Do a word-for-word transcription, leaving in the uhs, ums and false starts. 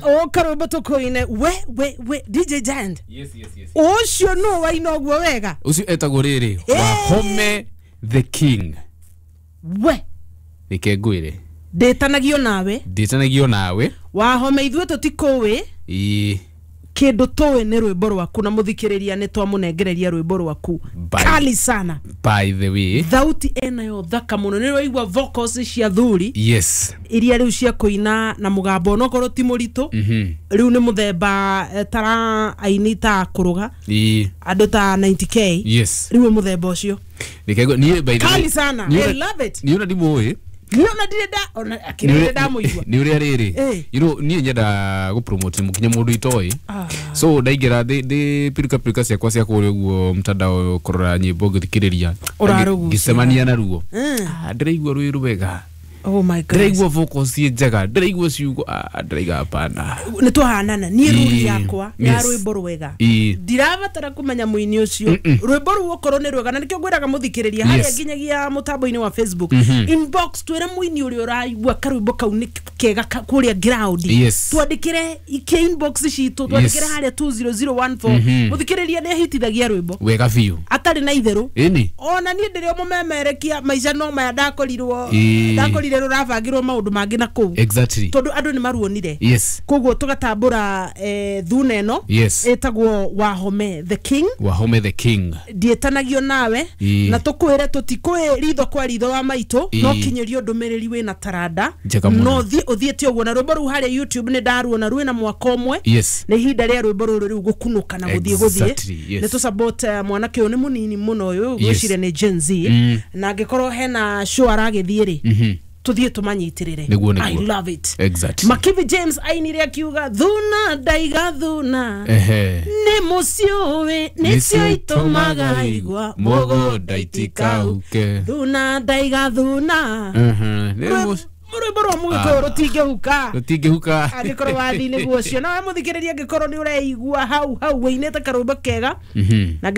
O karwĩmbo tũkũine we we we D J Giant. Yes yes yes. Ũcio nũ waina ũguo wega? Ucio etagwo rĩrĩ Wahome the King. We. Reke ngwĩre. Ndĩtanagio nawe. Ndĩtanagio nawe. Wahome, ithuĩ tũtikũĩ. Ĩĩ. Kĩndũ tũĩ nĩ rwĩmbo rwaku, na mũthikĩrĩria nĩ twamũnengereria rwĩmbo rwaku. Bye. Kali sana. By the way, thauti ĩnayo thaka mũno, nĩ waigua vocals cia thuri yes iria rĩu cia kũina na mũgambo onokorwo ti mũritũ. Mhm rĩu nĩ mũthemba eh, tara aini ta kũrũga Ĩĩ. andũ ta ninety k. Yes rĩu nĩ mũthemba ũcio. Reke ngwĩ- niĩ, by the way, Kali sana. niĩ I love it. Niĩ ona ndimũĩ. Niĩ ona ndirĩ nda ona akĩrĩ ndamũigua. Nĩ ũrĩa rĩrĩ, Eh. you know niĩ nyenda gũpromote mũkinya mũndũ itoĩ. Ah. So ndaingĩra ndĩ ndĩ piruka piruka ciakwa cia kũrĩa ũguo mtandao kũrora nyĩmbo ngĩthikĩrĩria. Ũrarũgucia. Ngĩcemania naruo. Mm. Ah, ndĩraigua rwĩ rwega. Oh my God. Ndĩraigua vocals ciĩ njega, ndĩraigua ciugo, ah, ndĩraiga hapana. Nĩ twahanana niĩ ruri Ĩĩ. yakwa ya Yes. rwĩmbo rwega, Ĩĩ. ndirabatara kũmenya mũini ũcio, rwĩmbo rũu okorwo nĩ rwega, na nĩkĩo ngwĩraga mũthikĩrĩria harĩa Yes. nginyagia mũtambo-inĩ wa Facebook inbox, twĩre mũini ũrĩa ũraigua karwĩmbo kau nĩ kega ka- kũrĩa ground. Yes. Twandĩkĩre ike inbox citũ, twandĩkĩre Yes. harĩa two zero zero one four. Mũthikĩrĩria nĩ ahitithagia rwĩmbo Wega biũ. Atarĩ na itherũ. Ĩni. Ona niĩ ndĩrĩ o mũmemerekia maica no maya ndakorirwo Ĩĩ. ndakorire rũrabangirwo maũndũ mangĩ na kũu Exactly tondũ andũ nĩ maruonire. Yes koguo tũgatambũra eh, thuna ĩno Yes. ĩtagwo Wahome the King. Wahome the King. Ndiĩtanagio nawe. Ĩĩ. Na tũkwĩre tũtikũĩ ritho kwa ritho wa maitũ. Ĩĩ. No kinyĩrio ndũmĩrĩri wĩna taranda. Njega mũno. No thiĩ ũthiĩte ũguo na rwĩmbo rũu harĩa YouTube nĩ ndaruona rwĩna mwaka ũmwe. Yes nĩ ihinda rĩa rwĩmbo rũrũ rĩu gũkunũka na gũthiĩ gũthiĩ. Exactly, yes. Nĩ tũ support eh, mwanake ũyũ, nĩ mũnini mũno ũyũ, Yes. ngwĩciria nĩ Gen Z. Mm. Na angĩkorwo hena show aragĩthiĩ rĩ, Mhm. tũthiĩ tũmanyitĩrĩre. Nĩguo, nĩguo. I love it. Exactly. Makivi James ainire akiuga thuna ndaiga thuna Ehe. nĩ mũciũĩ nĩcio itũmaga igwa mũgũnda itikauke. Thuna ndaiga thuna. Mhm. Nĩ mũc- Rwĩmbo rwa mũgĩkũyũ rũtingĩhuka. Rũtingĩhuka. Angĩkorwo wathi nĩguo ũcio nawe mũthikĩrĩria, angĩkorwo nĩ ũreigua hau hau wĩinĩte karwĩmbo kega Mhm. na